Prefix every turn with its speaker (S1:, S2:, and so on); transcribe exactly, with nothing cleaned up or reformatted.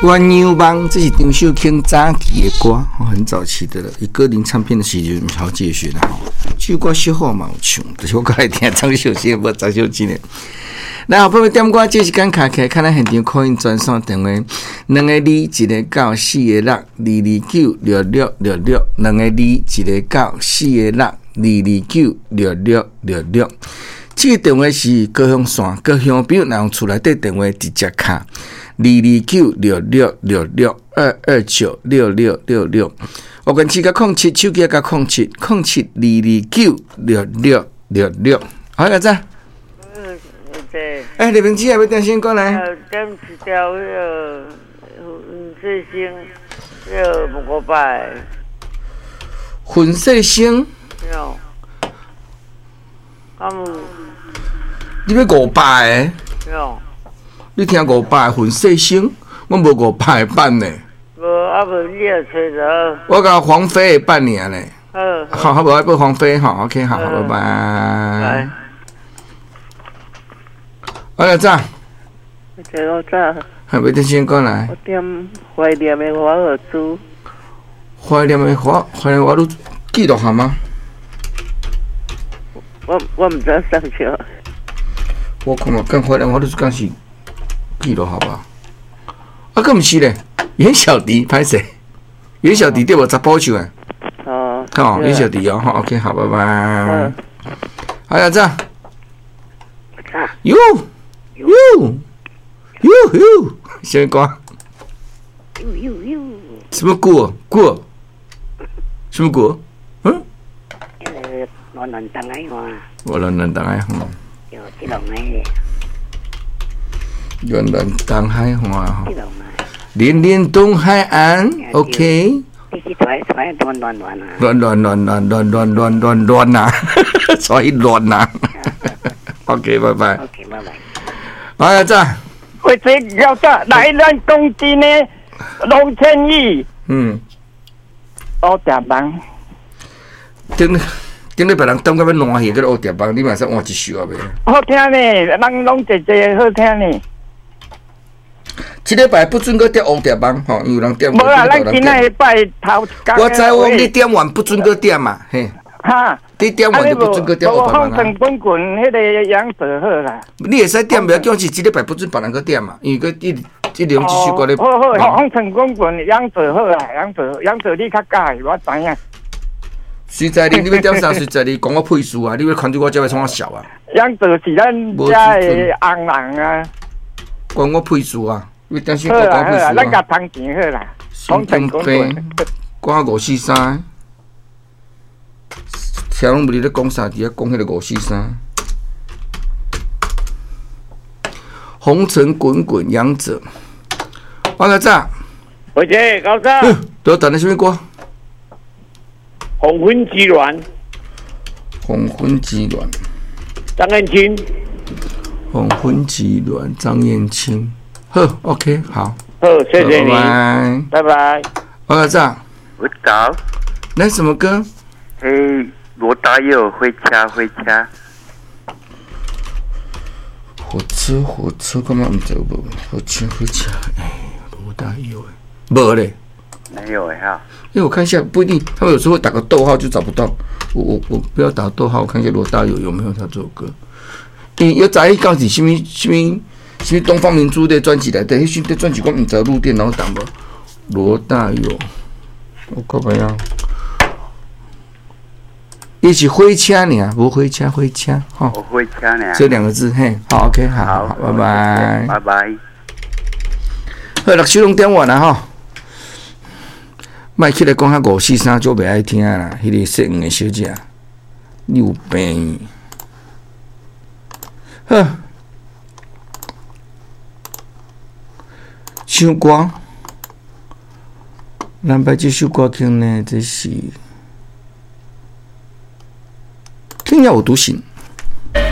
S1: 鸳鸯梦，這是張秀卿早期的歌，很早期的了。伊歌林唱片的時陣，好繼續啦。這首歌小好嘛有唱，但是我較愛聽張秀卿，無張秀卿的。來，好朋友點歌，這時間卡起來，看咱現場 call in 專線電話，兩个二一个九四个六二二九六六六六，兩个二一个九四个六二二九六六六六。這個電話是高雄線，高雄朋友若用厝內底電話直接敲二二九六六六六二二九六六六六。我跟七加空七，手機加空七，空七二二九六六六六。好，阿仔。
S2: 嗯，對。
S1: 哎，李明基，要點先過來。
S2: 點一條彼个粉碎星，彼个五百。
S1: 粉碎星。
S2: 有。敢有？
S1: 你欲五百个？
S2: 有。
S1: 你聽五百粉碎星，我無五百個版呢。
S2: 無啊，無你也揣著。
S1: 我共黃飛的版爾呢。
S2: 好。
S1: 好，好，無愛報黃飛吼，OK，好，拜拜。我來早。
S3: 早早。
S1: 還欲點先過來。
S3: 我點懷念的華爾茲。
S1: 懷念的華，懷念華爾記錄下嗎？
S3: 我我毋知送啥。
S1: 我看嘛，講懷念華爾茲敢是記錄好吧？啊，閣毋是咧，袁小迪歹勢？袁小迪對無？查埔唱的。
S3: 哦。
S1: 好，袁小迪哦，好，OK，好，拜拜。好，阿早。喲喲喲喲，啥物歌？什麼歌？歌？什麼歌？嗯？
S4: 暖暖東海岸。
S1: 我暖暖東海岸。
S4: 有這種的。
S1: 暖暖東海岸吼。連連東海岸，OK。
S4: 你去揣揣暖暖暖啊！
S1: 暖暖暖暖暖暖暖暖暖啊！所以暖啊。OK，拜拜。
S4: OK，拜拜。
S1: 哎，早。
S5: 喂，這老早來咱講真的，龍天宇。
S1: 嗯。
S5: 烏蝶夢。
S1: 頂頂禮拜人等到欲爛去，閣烏蝶夢，你嘛使換一首啊袂？
S5: 好聽呢，人攏濟濟好聽呢。
S1: 這禮拜不准閣點烏蝶夢吼，因為人點。
S5: 無啦，咱今仔日拜頭一工。
S1: 我知我你點完不准閣點嘛，嘿。
S5: 哈。
S1: 你點完就不准閣點烏蝶夢啊。
S5: 風塵滾滾，彼个楊子好啦。
S1: 你會使點，袂叫是這禮拜不准別人閣點嘛，因為閣一一兩這首歌咧。
S5: 好好，風塵滾滾，楊子好啦，楊子楊子你較佮意，我知影。
S1: 隨在你，你欲點啥？隨在你，講我屁事啊！你欲牽住我這欲創啥笑啊？
S5: 楊子是咱遮的紅人啊。
S1: 關我屁事啊！你點先講我屁事啊？
S5: 咱共通錢好啦。
S1: 神經病，講五四三，聽攏無佇咧講啥，佇遐講彼个五四三。紅塵滾滾，楊子。我來早。
S6: 回姐，高早。
S1: 都等的啥物歌？
S6: 黃昏之戀。
S1: 黃昏之戀。
S6: 張燕青。
S1: 黃昏之戀，張燕青。好，OK，好。
S6: 好，謝謝你。
S1: 拜
S6: 拜拜。
S1: 我來早。
S7: 我早。
S1: 來什麼歌？
S7: 欸，羅大佑，火車火車。
S1: 火車火車，幹嘛毋知有無？火車火車，哎，羅大佑，無咧。
S7: 沒有哎哈。
S1: 因為我看一下，不一定，他們有時候會打個逗號就找不到。我我我不要打逗號，我看一下羅大佑有沒有他這首歌。因為早伊講是啥物啥物啥物東方明珠的專輯內底，彼時專輯我毋知錄電腦檔無。羅大佑，我看覓啊？伊是火車爾，無火車火車，吼。
S7: 火車爾。
S1: 這兩個字，嘿，好，OK，好，好，拜拜，
S7: 拜拜。
S1: 好，六首攏點完啦，吼。莫起來講遐五四三，就袂愛聽啦。彼个姓黃的小姐，你有病？好，唱歌，咱擺這首歌曲呢，這是《天涯我獨行》。